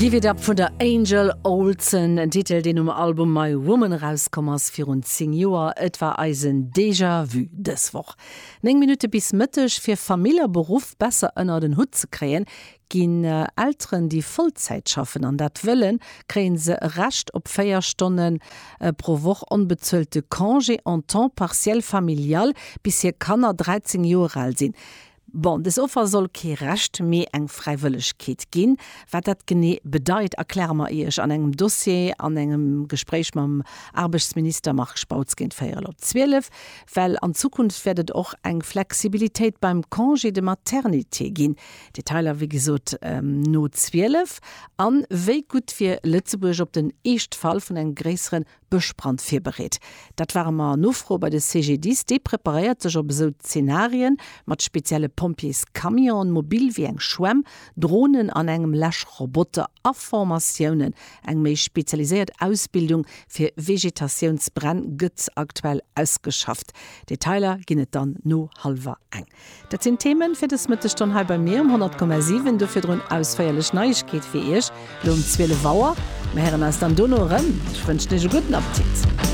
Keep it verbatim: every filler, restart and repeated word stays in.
Give It Up vun der Angel Olsen, en Titel, deen um Album My Woman erauskomm ass virun zéng Joer. Et war eisen Déjà-vu dës Woch. Néng Minutte bis Mëtteg. Fir Famill a Beruff besser ënnert en Hutt ze kréien, ginn Elteren, déi Vollzäit schaffen an dat wëllen, kréie se e Recht op véier Stonne pro Woch onbezuelte Congé en temps partiel familial, bis hir Kanner dräizéng Joer al sinn. Bon, dës Offer soll kee Recht, mee eng Fräiwëllegkeet ginn. Wat dat genee bedeit, erkläre mer Iech an engem Dossier an engem Gespréich mam Aarbechtsminister Marc Spautz géint véierel op zwielef. Well an Zukunft wäert et och eng Flexibilitéit beim Congé de maternité ginn. Detailer wéi gesot no zwielef. An wéi gutt wier Lëtzebuerg op den Eeschtfall vun engem gréissere Bëschbrand virbereet? Dat ware mer nofroe bei de C G D I S. Dee preparéiert sech op esou Zenarien mat spezielle Pompjeescamionen, mobil wéi eng Schwämm, Dronen an engem Läschroboter a Formatiounen. Eng méi spezialiséiert Ausbildung fir Vegetatiounsbränn gëtt aktuell ausgeschafft. Detailer ginn et dann no hallwer eng. Dat sinn d'Themen fir dës Mëttesstonn hei bei mir um honnert Komma siwen. Do virdrun ausféierlech Neiegkeet fir Iech lo um zwielef Auer. Mir héieren eis dann dono erëm. Ech wënschen Iech e gudden Appetit.